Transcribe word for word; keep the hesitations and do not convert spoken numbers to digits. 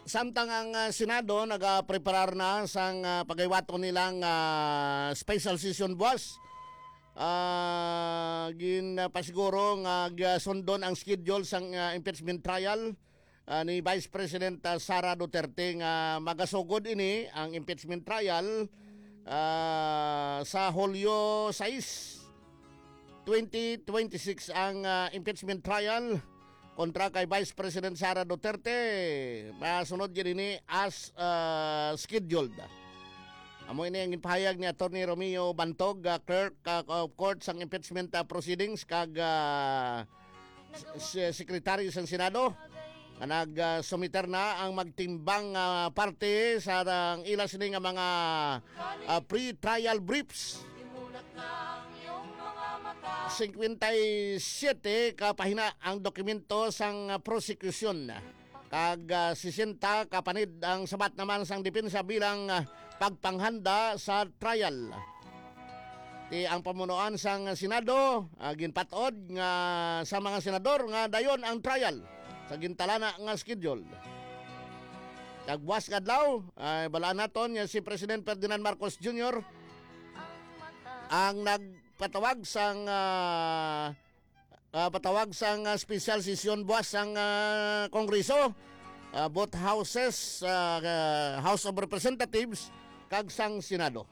Samtang ang, ah, Senado nagapreparar na sang, ah, pagaywaton nilang, ah, special session buwas, ah, ginpasiguro nga gasundon ang schedule sang, ah, impeachment trial, ah, ni Vice President, ah, Sara Duterte nga magasugod ini ang impeachment trial, ah, sa Hulyo sais, twenty twenty-six ang, ah, impeachment trial kontra kay Vice President Sara Duterte. Masunod gid ini as, ah, scheduled. Amo ini ang ginpahayag ni Attorney Romeo Bantog, ah, Clerk, ah, of Court sang impeachment, ah, proceedings, kag, ah, s- s- Secretary sang Senado, nga nag, ah, sumiter na ang magtimbang, ah, parte sa ang ila sini nga mga, ah, pre-trial briefs. Singkwenta y siyete ka pahina ang dokumento sang, ah, prosekusyon, kag, ah, sesenta ka panid ang sabat naman sang depensa bilang, ah, pagpanghanda sa trial. Ti ang pamunuan sang Senado, ah, ginpat-od nga sa mga senador nga dayon ang trial sa gintalana nga schedule. Kag buwas nga adlaw, ay balaan naton nga si President Ferdinand Marcos Junior ang nagpatawag sang, ah, ah, patawag sang, ah, special session buwas sang, ah, Kongreso, ah, both houses, ah, ah, House of Representatives kag sang Senado.